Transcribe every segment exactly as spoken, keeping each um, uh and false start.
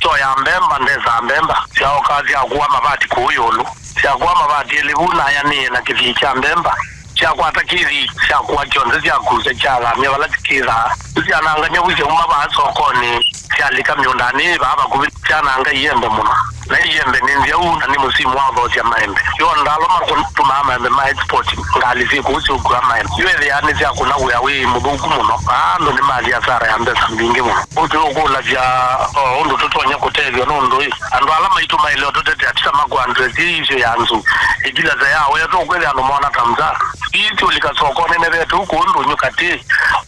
Syoya mbemba, ndesaa mbemba, syaoka syakua mavati kũu ĩũlũ. Syakua mavati elĩ vu nayanĩe na kĩthii kya mbemba. Syakwata kĩthii, syakua kyonthe, syakusya, syathamya vala kĩthaa. Nĩsyanangany'a vu syauma vaa sokonĩ, syalika mĩũndanĩ yĩ vaa vakuvĩ. Syananga iembe mũno. Na iembe nĩ nzyaũ na nĩ mũsimu wa ũthosya maembe. Yo ndalwa matũmaa maembe ma export, ngalĩ syĩ kũu syũkua maembe. Yo ethĩaa nĩsyakũna wĩa wĩ mũthũku mũno. Vaa andũ nĩmathi asara ya mbesa mbingĩ mũno. Ũtũkũlasya o ũndũ tũtonya kũtethw'a nũndũ ĩ, andũ ala maitũ maĩle ũtũtetea ti ta makũandresi ĩĩ isyo ya nzũ. Ĩkilasa ya wĩa tũkwĩthĩa andũ mona ta mza. Ii tũlika sokonĩ nevetũ kũũ ndũnyũ katĩ.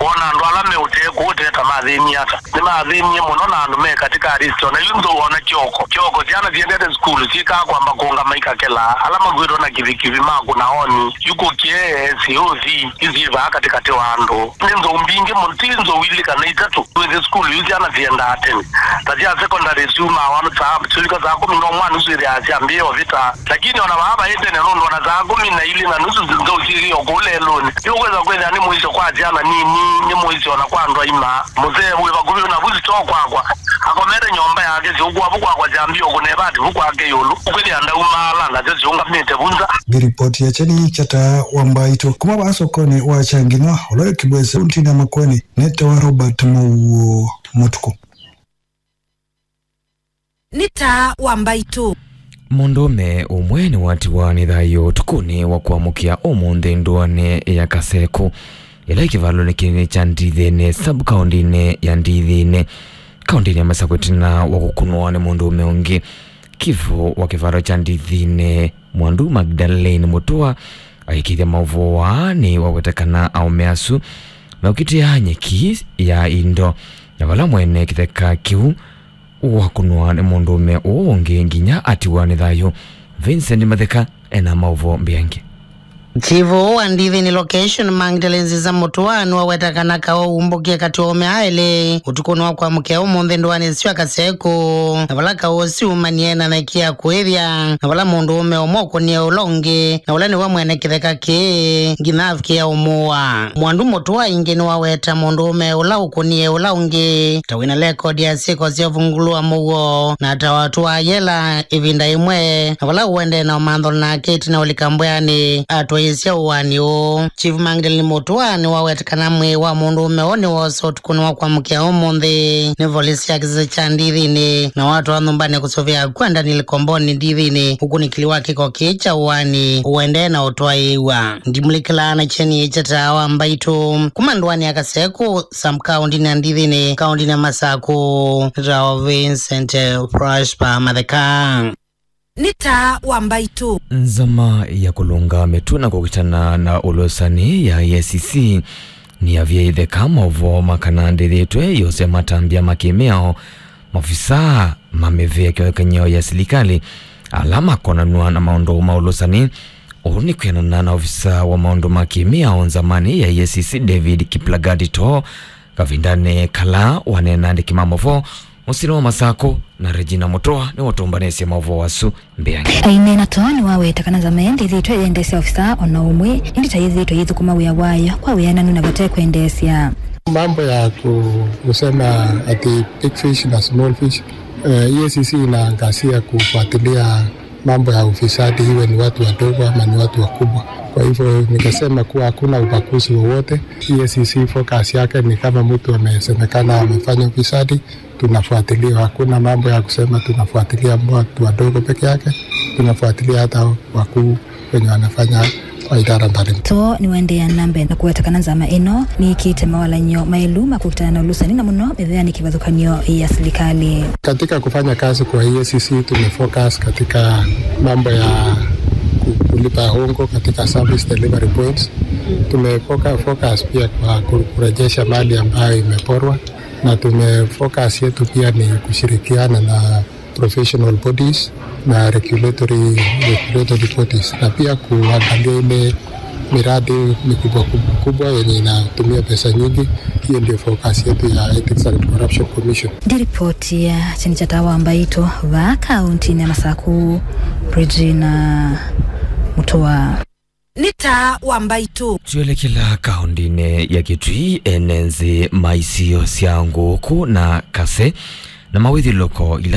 Wona andũ ala me ũtee kũũ tee ta mathĩnie ata. Nĩmathĩnie mũno na andũ me katika risk. Ona yu nzou ona kyoko. Kyoko syana siendete sukulu syĩkaa kwamba kũngama ikakelaa. Ala makuĩtwe na kivikivi makũna oni. Yu kũkĩe, S O C, isyĩ vaa katĩkatĩ wa andũ. Nĩ nzou mbingĩ mũno, ti nzou ilĩ kana itatũ. Twĩsĩ sukulu yu syana siendaa tene. Ta sya secondary syumaa wana saa, syũika saa kũmi na ũmwe na nusu ithĩaa syambĩĩe ũvĩta. Lakini ona vaa vaĩ tene nũndũ ona saa kũmi na ilĩ na nusu nzou syĩkĩe o kũu lelũnĩ. Yu kwĩsa kwĩthĩa nĩ mũisyo kwa syana nini, nĩ mũisyo ona kwa andũ aima. Mũsee wĩ vakuvĩ navu sitoo kwakwa akomete nyũmba yake syũkũa vu kwakwa syambĩĩe ũkũna ĩvati vu kwake ĩũlũ. Ũkwĩthĩa ndaumaala nasyo siũngamĩte vu nza. Nĩ ripoti ya Kyeni kya Taa wa Mbaitũ kuma vaa sokonĩ wa Kyangima, ũla wĩ Kĩbwezi, kauntinĩ ya Makueni. Nĩtawa Robert Mowuo Mũtukũ. Nĩ Taa wa Mbaitũ. Mũndũũme ũmwe nĩwatiwa nĩ thayũ ũtukũnĩ wa kwamũkĩa ũmũnthĩ ndũanĩ ya Kasekũ, ĩla ĩ kĩvalonĩ kĩnene kya Ndithĩnĩ, sub-kaũndĩnĩ ya Ndithĩnĩ, kaũndĩnĩ ya Masakũ, ĩtina wa kũkũnwa nĩ mũndũũme ũngĩ. Kivu wa kĩvalo kya Ndithĩnĩ, Mwandu Magdalene Mutua aikĩthya maũvoo aa nĩwaweta kana aũme asu meũkitĩa nyeki ya indo, na vala mwene kĩtheka kĩu wakũnwa nĩ mũndũũme ũũ ũngĩ nginya atiwa nĩ thayũ. Vincent Matheka ena maũvoo mbeange. Chief wa Ndithĩnĩ Location, Magdalene Nziza Mutua, nĩwaweta kana kaũ umbũkie katĩ wa aũme aa elĩ ũtukũnĩ wa kwamũkĩa ũmũnthĩ ndũanĩ sya Kasekũ, na vala kaũ ũsu umanie na nyeki ya kũĩthya, na vala mũndũũme ũmwe ũkũnie ũla ũngĩ, na ũla nĩwe mwene kĩtheka kĩĩ, nginya avikĩa ũmũa. Mwandu Mutua ĩngĩ nĩwaweta mũndũũme ũla ũkũnie ũla ũngĩ ta wĩna lekodi ya syĩko sya ũvungũlu wa mũuo, na ta watũaa yela ĩvinda ĩmwe, na vala ũendee na ũmantho nake ĩtina ũlika mbweanĩ, atwaĩĩsya ũaani ũũ. Chief Magdalene Mutua nĩwaweta kana mwĩĩ wa mũndũũme ũũ nĩwoosa ũtukũnĩ wa kwamũkĩa ũmũnthĩ nĩ volisi ya kĩsese kya Ndithĩnĩ, na watwawa nyũmbanĩ kũsũvĩa kwenda nĩ Likomboni Ndithĩnĩ, ũkunĩkĩli wa kĩko kĩĩ kya ũaani ũendee na ũtwaĩĩw'a. Ndimũlĩkĩlaa na Kyeni kya Taa wa Mbaitũ kuma ndũanĩ ya Kasekũ, sub-kaũndĩnĩ ya Ndithĩnĩ, kaũndĩnĩ ya Masakũ, nĩtawa Vincent Prosper Matheka. Nĩ Taa wa Mbaitũ. Nzama ya kũlũnga mĩtũ na kũkitana na ũlũsani ya E A C C nĩyavyĩĩtheka maũvoo ma kana ndĩthĩtwe yose matambya ma kĩmĩao, maovisaa ma mĩvĩa kĩvathũkany'o ya silikalĩ ala makonanw'a na maũndũ ma ũlũsani. Ũu nĩ kwĩanana na ovisaa wa maũndũ ma kĩmĩao nzamanĩ ya E A C C, David Kiplagat Too, kavindanĩ kala waneena na andĩki ma maũvoo mũsyĩnĩ wa Masakũ, na Regina Mutua nĩwatũmbanĩsye maũvoo asu mbeange. Aineena Too nĩwaweta kana nzama ĩyo ndĩthĩtwe ĩyendeesya ovisaa o na ũmwe, ĩndĩ ta yĩthĩĩtwe yĩthũkũma wĩa wayo kwa wĩananu na vate kwendeesya. Mambo ya ku-, kusema ati big fish na small fish, eh, E A C C inaangazia kufuatilia mambo ya ufisadi, iwe ni watu wadogo ama ni watu wakubwa. Kwa hivyo ningesema kuwa hakuna ubaguzi wowote. E A C C focus yake ni kama mtu amesemekana amefanya ufisadi, tunafuatilia. Hakuna mambo ya kusema tunafuatilia watu wadogo peke yake, tunafuatilia hata wakuu wenye wanafanya kwa idara mbalimbali. Too nĩwaendeea na mbee na kũweta kana nzama ĩno nĩĩkĩĩte mawalany'o maĩlu ma kũkitana na ũlũsani na mũno mĩveanĩ kĩvathũkany'o ya silikalĩ. Katika kufanya kazi kwa E A C C tumefocus katika mambo ya ku-, kulipa hongo katika service delivery points. Tumefocus pia kwa ku-, kurejesha mali ambayo imeporwa, na tumefocus yetu pia ni kushirikiana na professional bodies na regulatory, regulatory bodies, na pia kuangalia ile miradi mikubwa kubwa kubwa yenye inatumia pesa nyingi. Hiyo ndio focus yetu ya Ethics and Corruption Commission. Ndi ripoti ya Kyeni kya Taa wa Mbaitũ vaa kauntinĩ ya Masakũ, Regina Mutua. Nĩ Taa wa Mbaitũ. Twĩelekela kaũndĩnĩ ya Kitui, ene nzĩ ma isio sya Ngũkũ na Kase na mawĩthyũlũlũko ila